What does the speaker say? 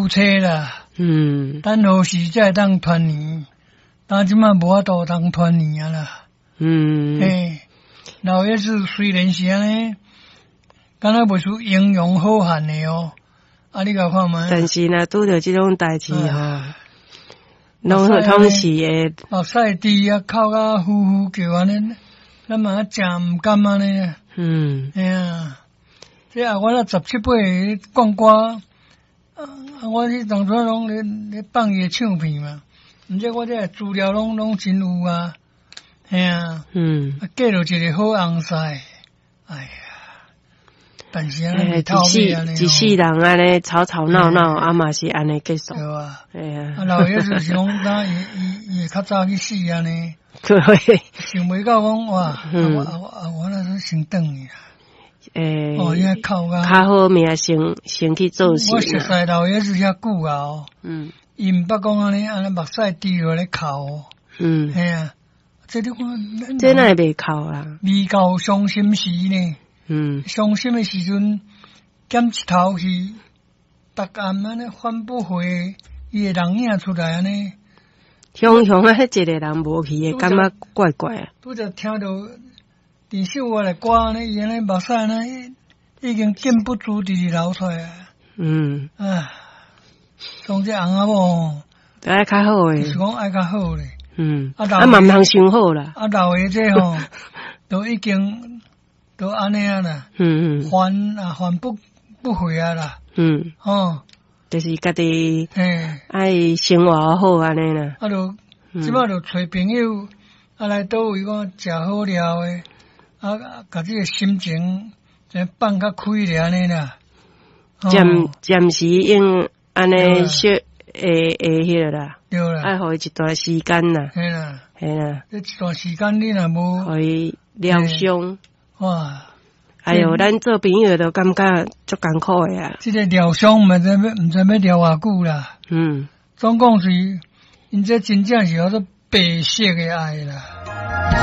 妻啦。等何時才會當團圓？但這擺無法度通團圓啊啦。嘿，老爺子雖然是按呢，敢若袂輸英雄好漢的哦。啊，你共看覓？但是若拄著這種代誌吼，攏攏是會目屎滴啊，哭甲呼呼叫按呢，咱嘛誠毋甘按呢。嘿啊，這啊，我若十七八歲講歌，啊，我彼當陣攏咧放伊的唱片嘛，毋知我這資料攏真有啊，嘿啊，啊，嫁著一個好翁婿，哎呀，但是按呢一世一世人按呢吵吵鬧鬧，啊嘛是按呢結束。對啊。嘿啊。啊，老爺子是講，當伊伊伊會較早去死按呢。對。想袂到講哇，啊我啊我啊我那是先轉去啦。哦，伊哭甲較好命先去做事。我熟似老爺子遐久啊哦。伊毋捌講按呢，按呢目屎滴落咧哭。嘿啊，這你看。這哪會袂哭啦？未到傷心時呢？傷心的時陣，減一頭去，逐暗按呢翻不回伊的人影出來按呢。雄雄啊，彼一個人無去的，感覺怪怪啊。拄則聽著佇首我的歌按呢，伊按呢目屎按呢已經禁不住直直流出來啊。啊，講這翁仔某，愛較好的，是講愛較好咧。啊嘛毋通傷好啦。啊，老的這吼，都已經都按呢啊啦。還啊還不回啊啦。哦。就是家己愛生活好按呢啦。啊，就這擺就揣朋友啊來佗位講食好料的，啊，共這個心情先放較開咧按呢啦。暫暫時用按呢小會會彼個啦。對啦。愛予伊一段時間啦。嘿啦。嘿啦。這一段時間你若無，予伊療傷。哇！哎喲，咱做朋友都感覺足艱苦的啊。這個療傷毋知欲療偌久啦。總共是，𪜶這真正是叫做白色的愛啦。